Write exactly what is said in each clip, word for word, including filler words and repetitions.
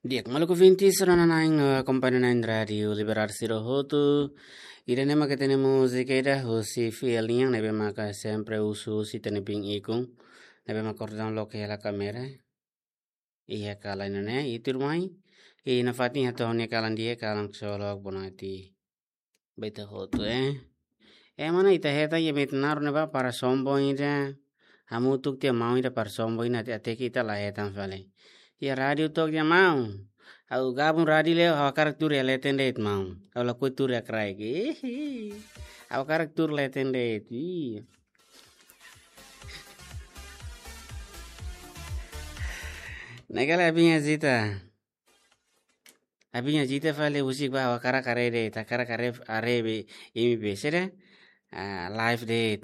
Di'ak, maluk ouvintes, rona-na'in, eh, akompaña na'in Rádiu Liberal sira hotu. Ida-ne'e mak ita-nia múzika ida husi fiel nian ne'ebé maka sempre husu husi ita-nia biin ikun. Ne'ebé maka kordon loke hela kámera. Iha kalan ne'e, ita tuirmai. I nafatin hato'o nia kalan di'ak, kalan ksolok, bonati. Ba ita hotu, eh. Eh, mana ita hetan iha Metnaru ne'ebá para sombong ida. Hamutuk tiha maun ida para sombong ida, até, até ke ita la hetan fali. Iha rádiu to'ok tiha maun. Ha'u gabung rádiu leo, ha'u hakarak tuur iha leten de'it maun. Ha'u lakohi tuur iha kraik. Ih, ha'u hakarak tuur leten de'it. Ih. Ne'e kala abin azita. Abin azita fali husik ba, ha'u hakarak haree de'it, hakarak haree, haree be, imi be, sira, ah, live de'it.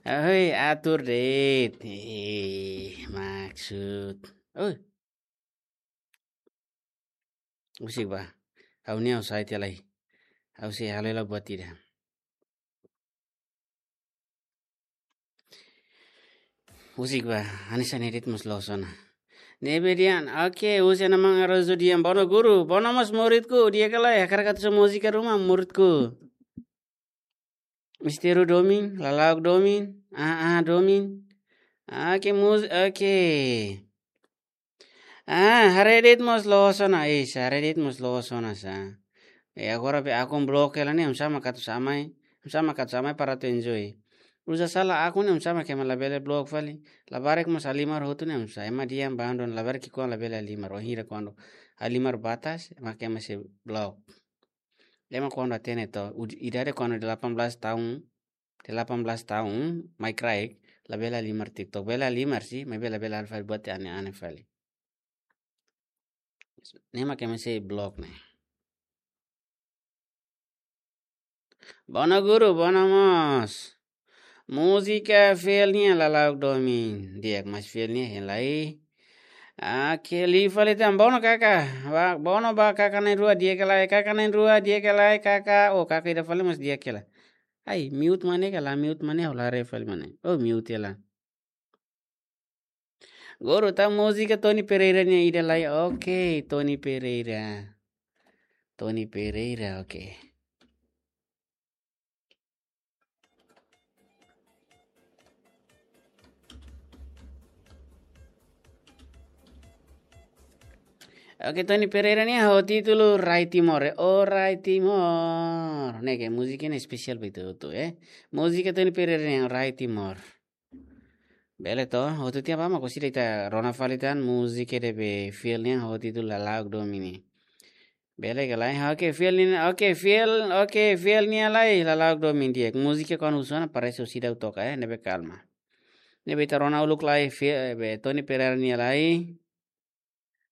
Ahoi, atur de'it. Eh, maksud. Oh. Husik ba. Ha'u-nia ha'u sai tiha lai. Ha'u sei halo hela buat ida. Husik ba, hanesan ne'e de'it mós loos ona. Ne'ebé dehan, oke, husi Ana Maun Arozu dehan, bono guru, bono mós muridku, di'ak ka lae, hakarak atu hasoru múzika ruma, muridku. Mistério domin, Lala'ok domin, ah, ah, domin. Oke, mus-, oke. Ah, haree de'it mós loos ona, eh, haree de'it mós loos ona sá. Eh, agora be akun blok hela ne'e, oinsá mak atu hasoru mai, oinsá mak atu hasoru mai para atu enjoy. Uza sala akun ne'e, oinsá mak ema labele blok fali. Labarik mós halimar hotu ne'e, oinsá. Ema dehan bandu, labarik ki'ikoan labele halimar, wainhira kuandu halimar batas, mak ema sei blok. Ema kuandu hatene to, uj-, idade kuandu delapan belas tahun, delapan belas tahun, mai kraik, labele halimar TikTok. Bele halimar sih, maibé labele halo fali buat ida ane-ane fali. Ne'e mak ema sei blok ne'e. Bono guru, bono mós. Múzika fiel nian Lala'ok domin. Di'ak, mas fiel nian hein lai. Ah, ke li fali tan, bono kaka. Ba, bono ba kaka na'in-rua, di'ak ka lae, kaka na'in-rua, di'ak ka lae, kaka. Oh, kaka ida fali mós di'ak hela. Ai, mute mane ka la, mute mane, ha'u la haree fali mane. Oh, mute hela. Guru, tau múzika Tony Pereira nian ida lai. Oke, Tony Pereira. Tony Pereira, oke. Oke, Tony Pereira nian ho títulu Rai Timor, eh. Oh, Rai Timor. Ne'e ke múzika ne'e espesiál ba ita hotu, eh. Múzika Tony Pereira nian Rai Timor. Bele to, hotu tiha ba mak orsida ita rona fali tan múzika ida be fiel nian ho títulu Lala'ok domin. Bele ka lae, oke, fiel nian, oke, fiel, oke, fiel nian lai, Lala'ok domin di'ak. Múzika kuandu husu ona parese orsida atu toka, eh, ne'ebé kalma. Ne'ebé ita rona uluk lai, fiel, eh, be Tony Pereira nian lai.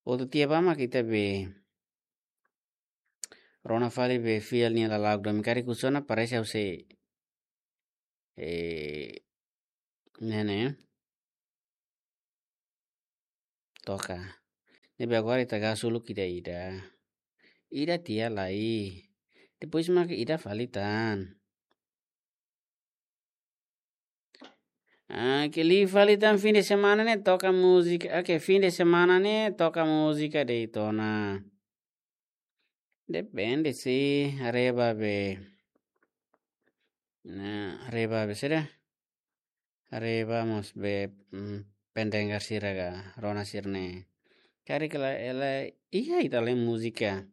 Hotu tiha ba mak ita be rona fali be fiel nian Lala'ok domin, karik husu ona parese ha'u sei, eh, ne'e ne'e toka. Ne'ebé agora ita gasu uluk ida-ida. Ida tiha lai. Depois mak ida fali tan. Ah, ke li fali tan fim de semana ne'e toka múzika. Oke, fim de semana ne'e toka múzika de'it ona. Depende sih, haree ba be. Nah, haree ba be sira. Haree ba mós be, mm, pendengar sira ka, rona sira-ne'e. Karik la, ela, iha ita-nia múzika.